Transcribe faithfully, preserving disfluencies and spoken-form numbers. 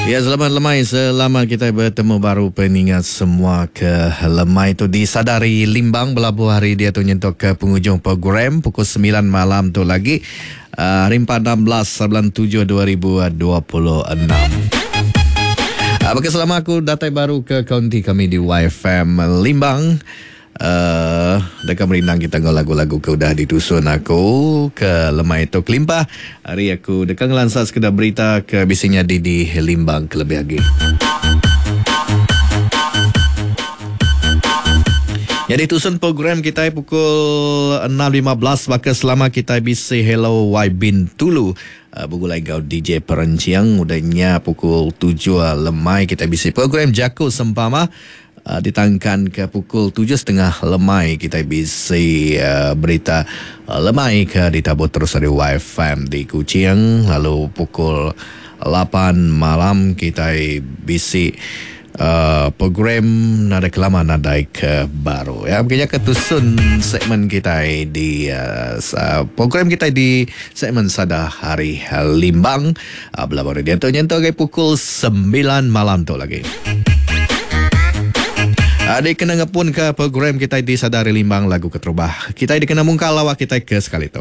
Ya, selamat lemai, selamat kita bertemu baru peningat semua ke lemai tu di Sadari Limbang belabuh hari dia tu nyentuk ke penghujung program pukul sembilan malam tu lagi uh, hari empat enam belas bulan tujuh dua ribu dua puluh enam. Uh, bagi selama aku datai baru ke kaunti kami di Y F M Limbang. Uh, dekat merindang kita ngau lagu-lagu ke udah ditusun aku ke lemai itu kelimpah hari aku dekat ngelansar sekedar berita ke bisinya di, di Limbang kelebih lagi. Jadi tusun program kita pukul enam lima belas maka selama kita bisi Hello Y Bintulu uh, bergulai gau D J Perenciang udahnya pukul tujuh lemai kita bisi program Jaku Sempama. Uh, ditangkan ke pukul tujuh setengah lemai kita bisi uh, berita uh, lemai ke ditabur terus dari Y F M di Kuching. Lalu pukul lapan malam kita bisi uh, program Nadai Kelama Nadai ke Baru. Ya, makanya ketusun segmen kita di uh, program kita di segmen Sada Hari Limbang. Uh, belah baru dia tu nyentuh ke pukul sembilan malam tu lagi. Adik kena ngepun ke program kita di Sadari Limbang lagu keterubah. Kita dikena mungkal lawak kita ke sekali tu.